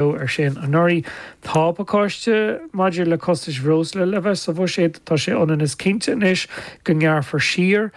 Ar sin anuraidh. Tá pacáiste maidir le costais bhreosla le bheith sa bhuiséad. Tá sé ionann is cinnte anois go ngearrfar siar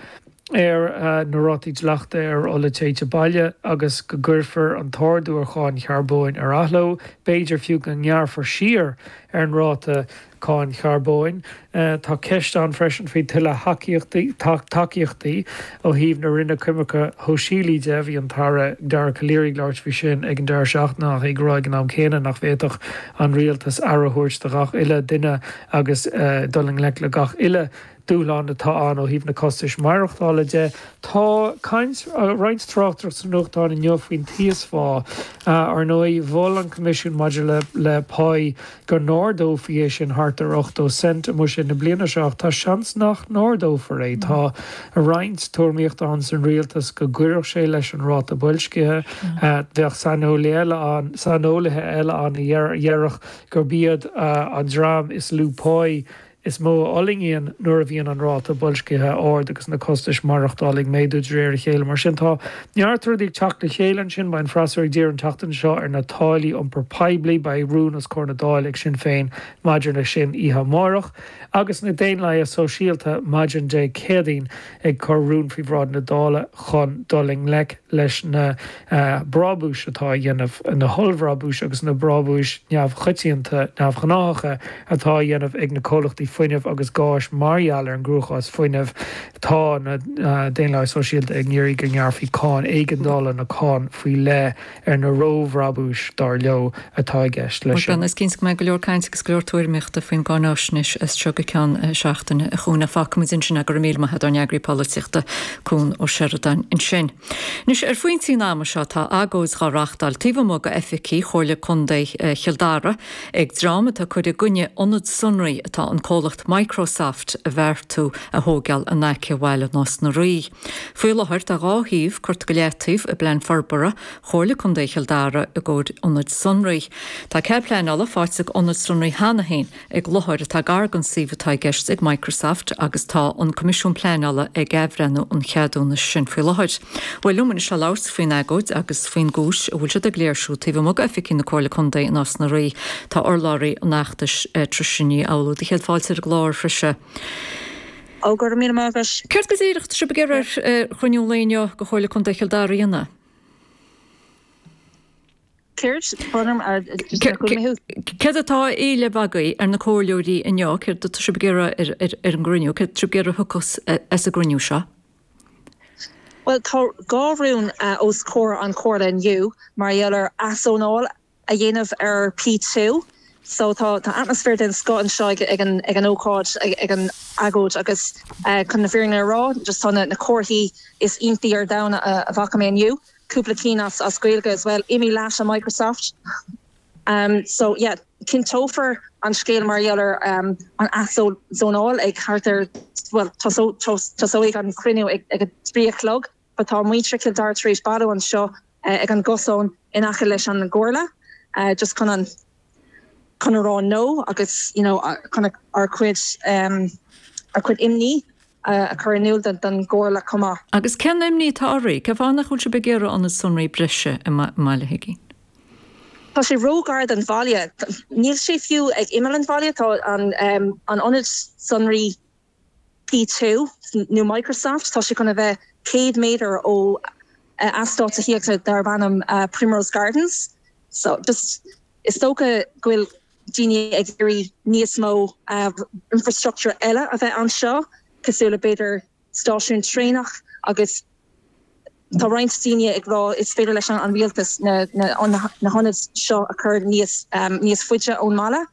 ar na rátaí dleachta ar ola téite baile agus go gcuirfear an t-ardú ar cháin charbóin ar athló. B'fhéidir fiú go ngearrfar siar ar an ráta cáin charbóin. Tá ceist ann freisin faoi tuilleadh thacaíochtaí, tacaíochtaí ó thaobh na Roinne Coimirce Shóisialaí de. Bhí an tAire Dara Calleary ag labhairt faoi sin ag an deireadh seachtaine ach é ag rá ag an am céanna nach bhféadfadh an rialtas aire a thabhairt do ghach uile duine agus dul i ngleic le gach uile dúshlán atá ann ó thaobh na costais maireachtála de. Tá caint, roinnt tráchtaireacht sna nuachtáin inniu faoin t-íosphá. Ar ndóigh, mhol an Coimisiún maidir le le Pá go n-ardófaí é sin thart ar 80 cent i mbuiséad na bliana seo ach tá seans nach n-ardófar é. Tá roinnt tuairimíochta ann san rialtas go gcuirfeadh sé leis an ráta boilscithe. Bheadh saineolaithe eile ann, saineolaithe eile ann a dhéarfadh gurb iad an dream is lú páí is mó a fhulaingíonn nuair a bhíonn an ráta boilscithe ard agus na costais maireachtála ag méadú de réir a chéile. Mar sin, tá neart rudaí ag teacht le chéile ansin. Beidh an freasúra ag díriú an tseachtain seo ar na táillí iompair poiblí. Beidh rún os comhair na Dála ag Sinn Féin maidir leis sin oíche amárach. Agus na Daonlathaithe Sóisialta maidin Dé Céadaoin ag cur rún faoi bhráid na Dála chun dul i ngleic leis na brábúis atá á dhéanamh, na hollbhrabúis agus na brábúis neamhchoitianta, neamhghnáthacha atá á dhéanamh ag na comhlachtaí fuinnimh agus gáis mar gheall ar an gcruachás fuinnimh. Tá na Daonlathaithe Sóisialta ag iarraidh go ngearrfaí cáin éigeandála nó cáin faoi leith ar na róbhrabúis, dar leo, atá i gceist leis sin. Bhuel, is cinnte go mbeidh go leor cainte agus go leor tuairimíochta faoin gcáináisnéis as seo go ceann seachtaine, a Chuain. Fágfaimid ansin é. Go raibh míle maith agat, ár n-eagraí polaitíochta, Cuan Ó Seireadáin ansin. Anois, ar phointí an ama seo, tá agóid dhá reachtáil taobh amuigh de oifigí Chomhairle Contae Chill Dara ag dream atá ag cur i gcoinne ionad sonraí atá an comhlacht Microsoft a bheartú a thóigeáil in aice bhaile Nás na Rí. Faoi láthair tá 2 shuíomh curtha go leataobh i bPlean Forbartha Chomhairle Contae Chill Dara i gcomhair ionaid sonraí. Tá cead pleanála faighte ag ionad sonraí cheana féin ag láthair atá gar don suíomh atá i gceist ag Microsoft agus tá an Coimisiún Pleanála ag athbhreithniú an cheadúnais sin faoi láthair. Bhuel liom anois le labhairt faoin agóid agus faoin gcúis a bhfuil siad ag léirsiú taobh amuigh d'oifigí na Comhairle Contae i Nás na Rí tá urlabhraí an fheachtais Tricia Ní Fhoghlú. Do chéad fáilte ar an gclár, a Thricia. Ó, go raibh míle maith agat. Céard go díreach atá sibh ag iarraidh ar chruinniú an lae inniu de Chomhairle Contae Chill Dara a dhéanamh? Céard? Brón orm, just nár chuala mé thú. Céard atá á éileamh agaibh ar na comhairleoirí inniu? Céard atá sibh ag iarraidh ar an gcruinniú? Céard atá sibh ag iarraidh a thiocfas as an gcruinniú seo? Bhuel, tá 2 rún os comhair an Chomhairle inniu mar gheall ar athzónáil a dhéanamh ar P2. So tá tá atmaisféar den scoth anseo ag ag an ag an ócáid ag an agóid agus chun na fírinne a rá just tá na na comharthaí is iontaí ar domhan a a bhfaca mé inniu, cúpla cinn as as Gaeilge as well, imigh leat a Microsoft. Um so yeah cinnteofar an scéal mar gheall ar um an athzónáil ag thart ar bhuel tosóidh an cruinniú ag ag a 3 a chlog. But tá muintir Chill Dara tar éis bailiú anseo ag an gcosán in aice leis an gComhairle just chun an chun a rá no agus you know chun ár cuid ár cuid imní a chur in iúl don gComhairle chomh maith. Agus cén imní atá oraibh? Cén fáth nach bhfuil sibh ag iarraidh ionad sonraí breise i mBaile Huiginn? Tá sé ró-ghar don bhaile. Níl sé fiú ag imeall an bhaile. Tá an an ionad sonraí P2 nó Microsoft, tá sé chun a bheith 100 méadar ó eastát tithíochta darb ainm Primrose Gardens. So just is dócha go bhfuil daoine ag iarraidh níos mó infrastructure eile a bheith anseo, cosúil le b'fhéidir stáisiún traenach agus tá roinnt daoine ag rá is féidir leis an rialtas na na hionaid seo a chur níos níos faide ón mbaile.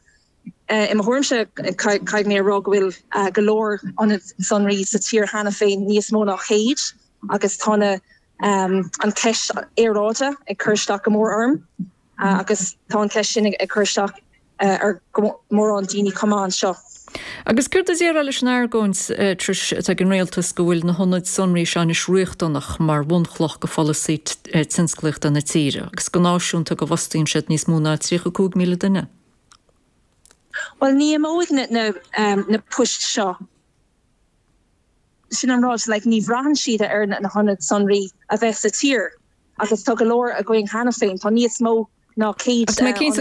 I mo thuairimse, caithfidh mé a rá go bhfuil go leor ionad sonraí sa tír cheana féin, níos mó ná 100, agus tá na an cheist aeráide ag cur isteach go mór orm agus tá an cheist sin ag cur isteach ar mórán daoine chomh maith anseo. Agus céard a déarfá leis an argóint, Trish, atá ag an rialtas go bhfuil na hionaid sonraí seo anois riachtanach mar bhunchloch do pholasaí tionsclaíochta na tíre agus go náisiúnta go bhfostaíonn siad níos mó ná 35,000 duine? Bhuel, ní imeoidh na poist seo. Sin an rud, like, ní bhraitheann siad ar na hionaid sonraí a bheith sa tír agus tá go leor againn cheana féin. Tá níos mó ná 100 Ach tá mé cinnte go.